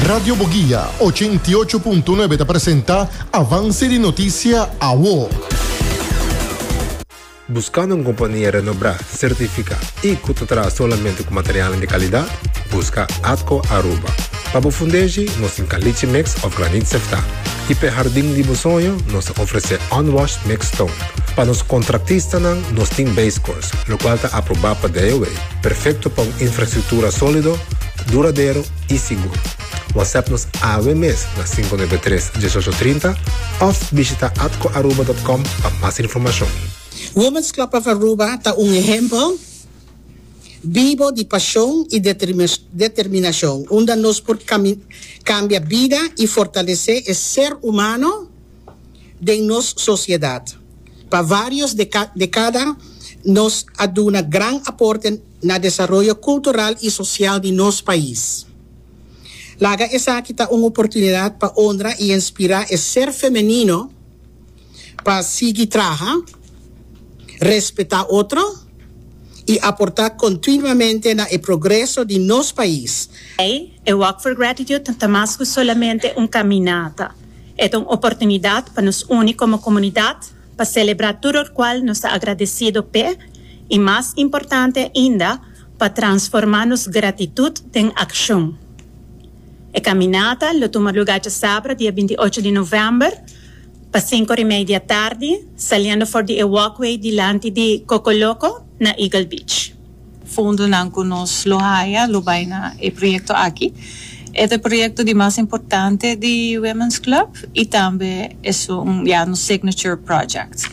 Radio Boguia 88.9 ta presenta Avance di Noticia Awo. Buscando un compania renobrá, certificá y cu ta traha solamente cu materialnan di calidad? Busca Atco Aruba. Pa bo fundeshi, nos tin caliche mix of granit seftá. Y p'e hardin di bo soño, nos ta ofrece unwashed mixed stone. Pa nos contractistanan, nos tin base course, locual ta aprobá pa DOW, perfecto pa un infrastructura solido, duradero y sigur. WhatsApp nos awe mes na 593 1830 of bishita atcoaruba.com pa mas informacion. Women's Club of Aruba ta un ehempel bibo di pasion y determinacion unda nos por cambia bida y fortalece e ser humano den nos sociedad. Pa varios decada nos a duna gran aporte na desaroyo cultural y social di nos pais. Laga esaki ta un oportunidad pa honra y inspira e ser femenino pa sigui traha, respeta otro y aporta continuamente na e progreso di nos pais. E Walk for Gratitude ta mas cu solamente un caminata. E ta un oportunidad pa nos uni como comunidad pa celebra tur locual nos ta agradecido p'e y mas importante ainda, pa transforma nos gratitud den accion. E caminata lo tuma lugar djasabra dia 28 di november pa cinco ora y media di atardi, saliendo for di e walkway dilanti di Coco Loco na Eagle Beach. Fondonan cu nos lo haya lo bay na e proyecto aki. E ta e proyecto di mas importante di Women's Club y tambe esun ya nos signature project.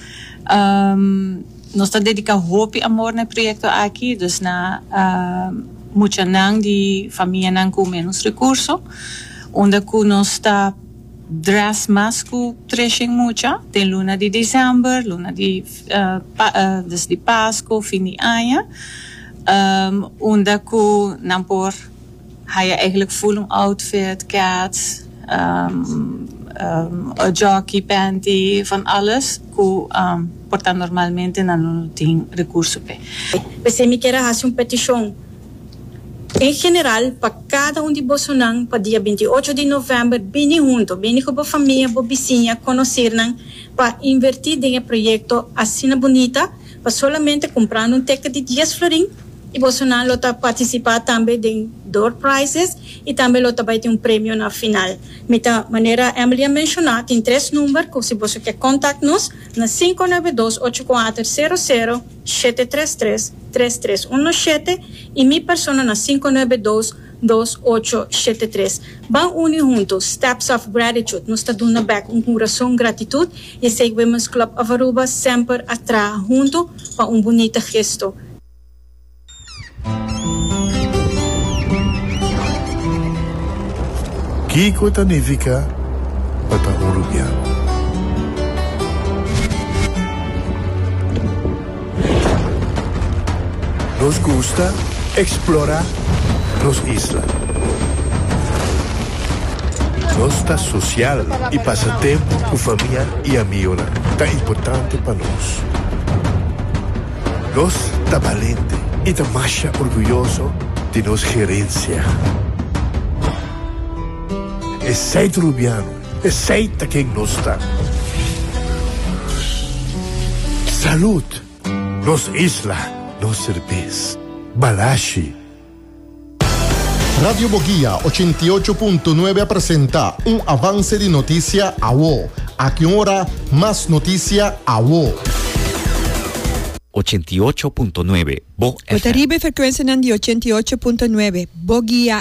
Nos ta dedica hopi amor na e proyecto aki, dus na muchanan di famianan cu menos recurso, unda cu nos ta dress mas cu treshen mucha den luna di december, luna di dus di Pasco, fin di aña, unda cu nan por Haya eigenlijk full un outfit, cats, jockey, panty, van alles cu por ta normalmente nan lo no tin recurso p'e. P'esei mi kier a hasi un petishon en general pa kada un di bosonan pa dia 28 di novèmber bini hunto, bini ku bo famia, bo bisiña, konosirnan pa invertí den e proyekto asina bunita pa solamente kumprando un teket di dies florin. I bosonan lo ta partisipá tambe den door prizes i tambe lo ta bai tin un premio na final. Mi ta, manera Emily a menshoná, tin tres number ku si boso ke kontakt nos na 592 8400 733 3317 i mi persona na 592 2873. Ban uni huntu, Steps of Gratitude, nos ta duna bek un kurason gratitut i esei Women's Club of Aruba semper a traha huntu pa un bunita gesto. Kiko ta nifiká pa ta un rubiano? Nos gusta eksplorá nos isla. Nos ta sosial i pasa tempu ku famia i amigonan ta importante pa nos. Nos ta balente i ta masha orguyoso di nos gerensia. Esei ta Rubiano, esei ta ken nos ta. Salud! Nos isla, nos serbes. Balashi. Radio Boguia 88.9 a presenta un avance di noticia awo. Aki un ora, mas noticia awo. 88.9 Bo Bo ta FM. riba e frekuensianan di 88.9 Bo Guia.